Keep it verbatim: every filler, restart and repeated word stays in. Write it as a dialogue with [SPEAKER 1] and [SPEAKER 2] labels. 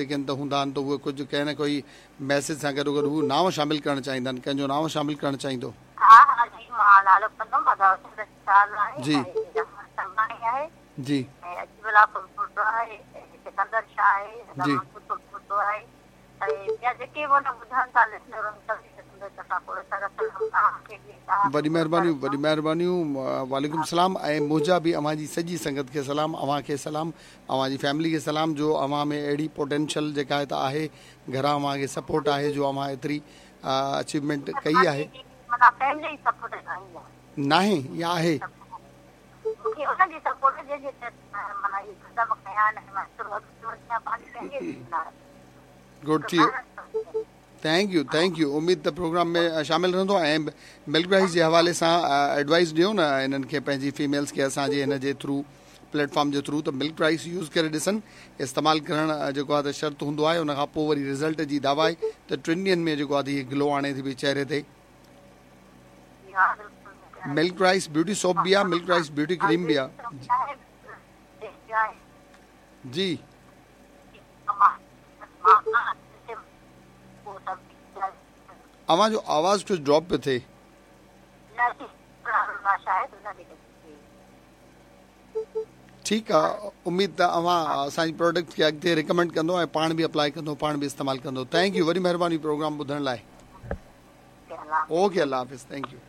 [SPEAKER 1] جيڪي ته هوندا آهن ته اهي ڪجهه ڪنهن نه ڪوئي ميسيج سان گڏو گڏ هو نانءُ شامل ڪرڻ چاهيندا آهن. ڪنهن جو نانءُ شامل ڪرڻ چاهيندو؟
[SPEAKER 2] ها ها جي، مان نالو ڪندم. آهي
[SPEAKER 1] جي جي جي وڏي مهربانيون، وڏي مهربانيون. وعليڪم سلام ۽ منهنجا به اوهان جي سڄي سنگت کي سلام، اوهان کي سلام، اوهان جي فيملي کي سلام، جو اوهان ۾ اهڙي پوٽينشل جيڪا آهي ته آهي، گهران اوهان کي سپورٽ آهي جو اوهان ايتري اچيومينٽ ڪئي آهي. ناهي يا آهي؟ گڊ ٿي ويو. Thank you, thank you. اميد ته پروگرام ۾ شامل رهندو ۽ ملڪ رائس جي حوالي سان ايڊوائس ڏيو نه انهن کي، پنهنجي فيميلز کي اسان جي هن جي ٿرو، پليٽ فارم جي ٿرو، ته ملڪ رائس يوز ڪري ڏسن. استعمال ڪرڻ جيڪو آهي ته شرط هوندو آهي، ان کان پوءِ وري رزلٽ جي دعويٰ آهي ته ٽن ڏينهن ۾ جيڪو آهي ته هيءَ گلو آڻي ٿي پئي چهري تي. ملڪ رائس بيوٽي سوپ به آهي، ملڪ رائس بيوٽي ڪريم به آهي. جي، اوهان جو آواز ڪجهه ڊراپ پيو ٿئي. ٺيڪ آهي، اميد ته اوهان اسان جي پراڊڪٽ کي اڳتي رڪمينڊ ڪندو ۽ پاڻ به اپلائي ڪندو، پاڻ به استعمال ڪندو. Thank you, وڏي مهرباني پروگرام ٻڌڻ لاءِ. اوڪي، الله حافظ. Thank you.